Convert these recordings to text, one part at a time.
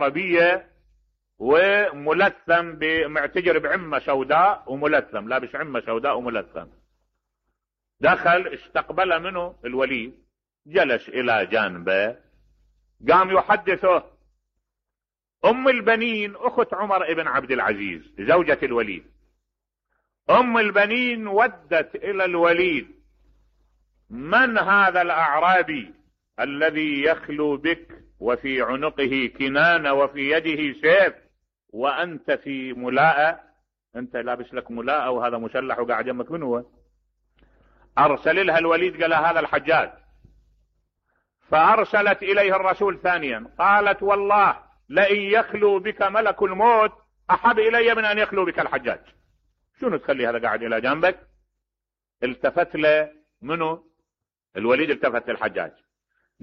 عربية وملثم معتجر بعمة سوداء وملثم، لابس عمة سوداء وملثم. دخل استقبل منه الوليد، جلس الى جانبه، قام يحدثه. ام البنين اخت عمر بن عبد العزيز زوجة الوليد، ام البنين ودت الى الوليد: من هذا الاعرابي الذي يخلو بك وفي عنقه كنانة وفي يده سيف وانت في ملاءة؟ انت لابس لك ملاءة وهذا مسلح وقاعد جنبك. من هو؟ ارسل لها الوليد قال هذا الحجاج. فارسلت اليه الرسول ثانيا قالت: والله لئن يخلو بك ملك الموت احب الي من ان يخلو بك الحجاج. شنو تخلي هذا قاعد الى جنبك؟ التفت له منه الوليد، التفت للحجاج،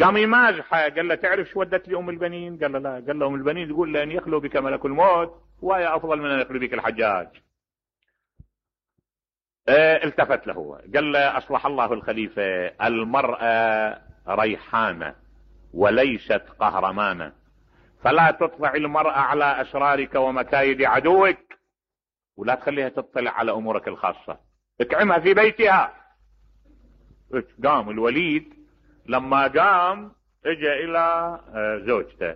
قام يمازحه، قال له: تعرف شو ودت لي ام البنين؟ قال له: لا. قال له: ام البنين تقول لان يخلو بك ملك الموت وهي افضل من ان يخلو بك الحجاج. التفت له قال له: اصلح الله الخليفة، المرأة ريحانة وليست قهرمانة، فلا تطلع المرأة على اسرارك ومكايد عدوك، ولا تخليها تطلع على امورك الخاصة، اكعمها في بيتها. قام الوليد لما قام اجى الى زوجته،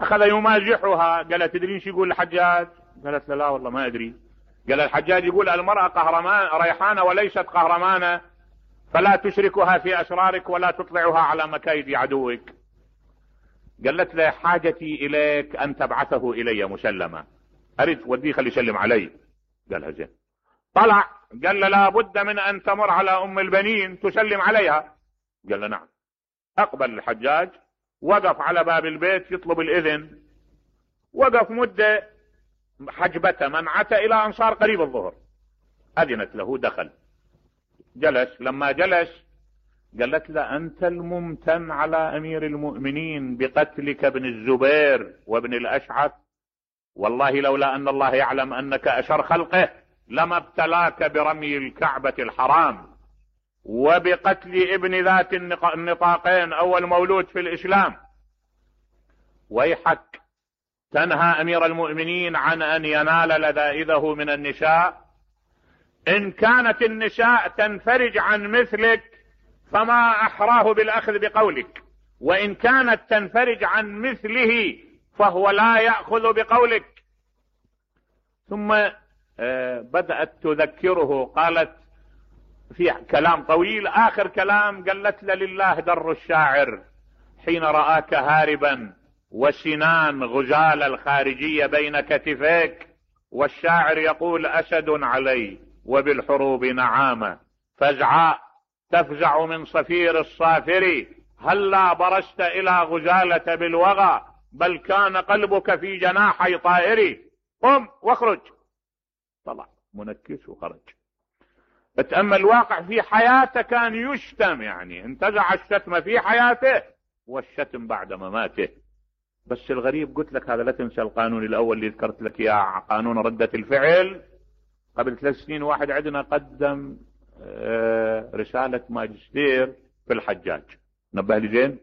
اخذ يمازحها، قال: تدرين شو يقول الحجاج؟ قالت له: لا والله ما ادري. قال: الحجاج يقول المرأة قهرمان ريحانة وليست قهرمانة، فلا تشركها في اسرارك ولا تطلعها على مكايد عدوك. قالت له: حاجتي اليك ان تبعثه الي مسلمة، اريد وديه خلي يسلم علي. قالها زين. طلع قال له: لا بد من ان تمر على ام البنين تسلم عليها. قال له: نعم. اقبل الحجاج، وقف على باب البيت يطلب الاذن، وقف مدة، حجبته منعته الى ان صار قريب الظهر، اذنت له، دخل جلس. لما جلس قالت له: انت الممتن على امير المؤمنين بقتلك ابن الزبير وابن الاشعث، والله لولا ان الله يعلم انك اشر خلقه لما ابتلاك برمي الكعبة الحرام وبقتل ابن ذات النطاقين اول مولود في الاسلام. ويحك، تنهى امير المؤمنين عن ان ينال لذائذه من النساء. ان كانت النساء تنفرج عن مثلك فما احراه بالاخذ بقولك، وان كانت تنفرج عن مثله فهو لا يأخذ بقولك. ثم بدأت تذكره، قالت في كلام طويل، اخر كلام قالت له: لله در الشاعر حين رآك هاربا وسنان غزال الخارجية بين كتفيك، والشاعر يقول: اسد علي وبالحروب نعامة فزعاء تفزع من صفير الصافر، هلا برست الى غزالة بالوغى بل كان قلبك في جناحي طائري، قم واخرج. طلع منكس وخرج. اتأمل الواقع في حياته، كان يشتم، يعني انتزع الشتم في حياته والشتم بعد مماته. بس الغريب قلت لك هذا لا تنسى القانون الاول اللي ذكرت لك اياه، قانون ردة الفعل. قبل 3 سنين واحد عندنا قدم رسالة ماجستير في الحجاج، نبه لي زين،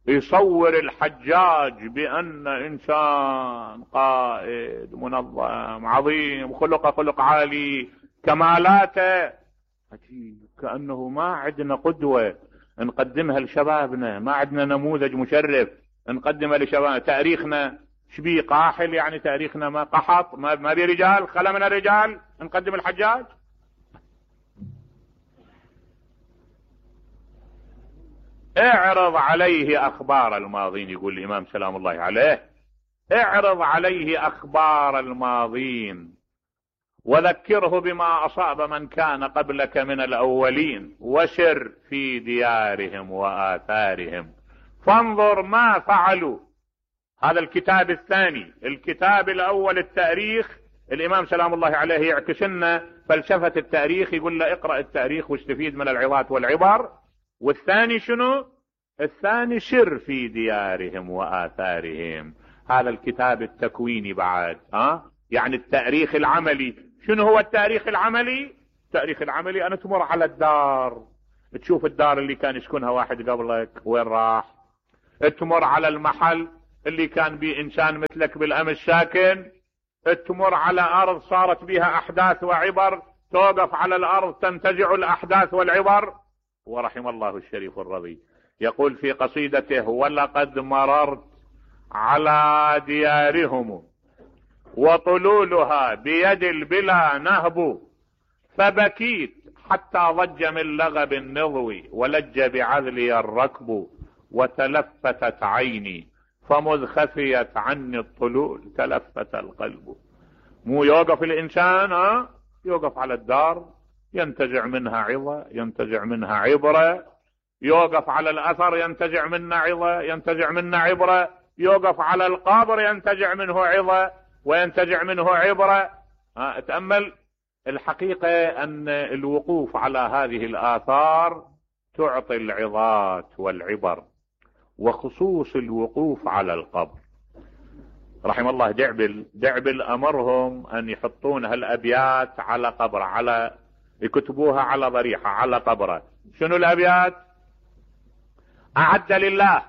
يصور الحجاج بأن إنسان قائد منظم عظيم، خلق عالي، كمالاته كأنه ما عندنا قدوة نقدمها لشبابنا، ما عندنا نموذج مشرف نقدمه لشباب. تاريخنا شبيه قاحل، يعني تاريخنا ما قحط، ما بي رجال، خلا من الرجال نقدم الحجاج. اعرض عليه اخبار الماضين، يقول الامام سلام الله عليه، اعرض عليه اخبار الماضين وذكره بما اصاب من كان قبلك من الاولين، وسر في ديارهم واثارهم فانظر ما فعلوا. هذا الكتاب الثاني. الكتاب الاول التاريخ، الامام سلام الله عليه يعكس لنا فلسفة التاريخ، يقول له اقرأ التاريخ واستفيد من العظات والعبر. والثاني شنو؟ الثاني سر في ديارهم واثارهم. هذا الكتاب التكويني بعد، يعني التاريخ العملي. شنو هو التاريخ العملي؟ التاريخ العملي انا تمر على الدار، تشوف الدار اللي كان يسكنها واحد قبلك وين راح، تمر على المحل اللي كان بيه انسان مثلك بالامس ساكن، تمر على ارض صارت بها احداث وعبر، توقف على الارض تنتزع الاحداث والعبر. ورحم الله الشريف الرضي يقول في قصيدته: ولقد مررت على ديارهم وطلولها بيد البلا نهب، فبكيت حتى ضج من لغب النضو، ولج بعذلي الركب، وتلفتت عيني فمذ خفيت عني الطلول تلفت القلب. مو يوقف الانسان يوقف على الدار ينتزع منها عظة، ينتزع منها عبرة، يوقف على الاثر ينتزع منها عظة، ينتزع منها عبرة، يوقف على القبر ينتزع منه عظة وينتزع منه عبرة. تأمل الحقيقة ان الوقوف على هذه الاثار تعطي العظات والعبر، وخصوص الوقوف على القبر. رحم الله دعبل امرهم ان يحطون هالابيات على قبره، على يكتبوها على ضريحة على قبره. شنو الابيات؟ اعد لله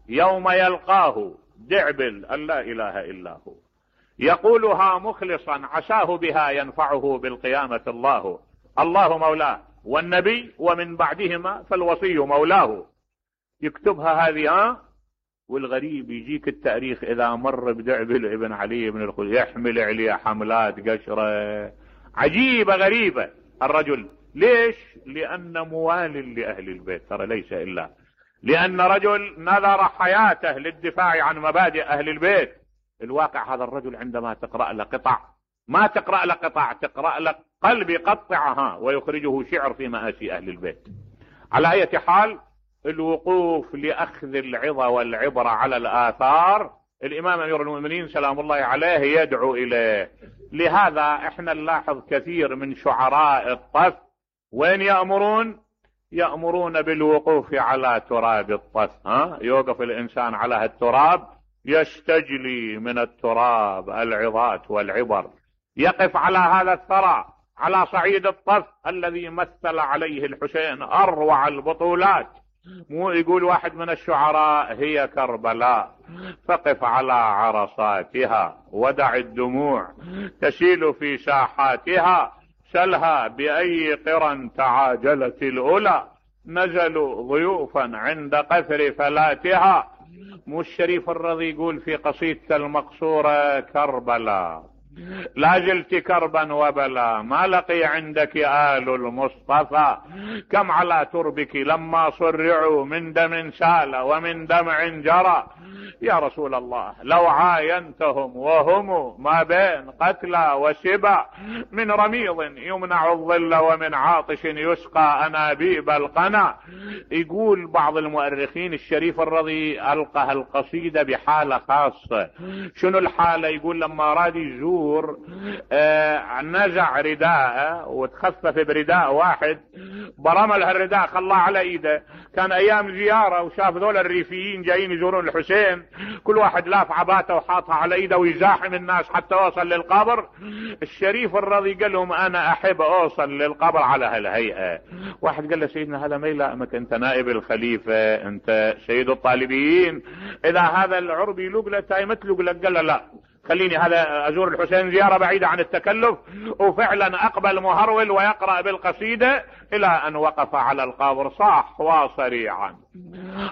يوم يلقاه دعبل ان لا اله الا هو، يقولها مخلصا عساه بها ينفعه بالقيامة الله. الله مولاه والنبي ومن بعدهما فالوصي مولاه. يكتبها هذه والغريب يجيك التاريخ اذا مر بدعبل ابن علي بن الخليل يحمل عليه حملات قشرة عجيبة غريبة الرجل. ليش؟ لان موال لاهل البيت، ترى ليس الا لان رجل نذر حياته للدفاع عن مبادئ اهل البيت. الواقع هذا الرجل عندما تقرأ له قطع، ما تقرأ له قطع، تقرأ له قلب يقطعها ويخرجه شعر في مآسي اهل البيت. على اي حال الوقوف لاخذ العظة والعبرة على الاثار الامام امير المؤمنين سلام الله عليه يدعو اليه. لهذا احنا نلاحظ كثير من شعراء الطف وين يأمرون بالوقوف على تراب الطف. يوقف الانسان على هالتراب يستجلي من التراب العظات والعبر، يقف على هذا الثرى على صعيد الطف الذي مثل عليه الحسين اروع البطولات. مو يقول واحد من الشعراء: هي كربلاء فقف على عرصاتها ودع الدموع تسيل في ساحاتها، سلها بأي قرى تعاجلت الأولى نزلوا ضيوفا عند قثر فلاتها. مو الشريف الرضي يقول في قصيدة المقصورة: كربلاء لا زلت كربا وبلا، ما لقي عندك آل المصطفى، كم على تربك لما صرعوا من دم سال ومن دمع جرى. يا رسول الله لو عاينتهم وهم ما بين قتلى وسبا، من رميض يمنع الظل ومن عاطش يسقى أنابيب القنا. يقول بعض المؤرخين الشريف الرضي ألقى القصيدة بحالة خاصة. شنو الحالة؟ يقول لما راد يزور نزع رداءه وتخفف برداء واحد، برمل هالرداء خلاه على ايده. كان ايام زيارة وشاف ذول الريفيين جايين يزورون الحسين، كل واحد لاف عباته وحاطها على ايده ويزاحم الناس حتى اوصل للقبر. الشريف الرضي قال لهم: انا احب اوصل للقبر على هالهيئة. واحد قال له: سيدنا هذا ما يلائمك، انت نائب الخليفة، انت سيد الطالبين، اذا هذا العربي لقلة تايمت لقلة. قال له: لا، خليني هذا ازور الحسين زيارة بعيدة عن التكلف. وفعلا اقبل مهرول ويقرأ بالقصيدة الى ان وقف على القبر صاح وصريعا: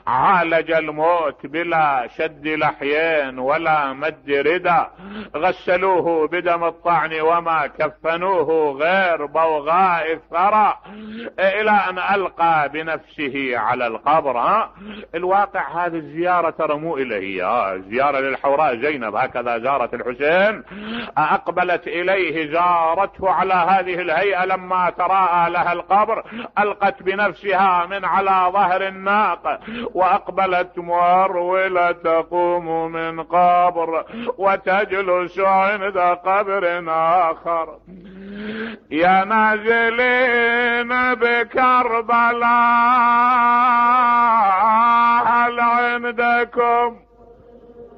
عالج الموت بلا شد لحيين ولا مد ردى، غسلوه بدم الطعن وما كفنوه غير بوغاء الثرى، الى ان القى بنفسه على القبر. الواقع هذه الزيارة ترى مو اليه، زيارة للحوراء زينب هكذا زارت الحسين، اقبلت اليه زارته على هذه الهيئة. لما تراءى لها القبر القت بنفسها من على ظهر الناقة واقبلت مهرولة تقوم من قبر وتجلس عند قبر اخر. يا نازلين بكربلاء هل عندكم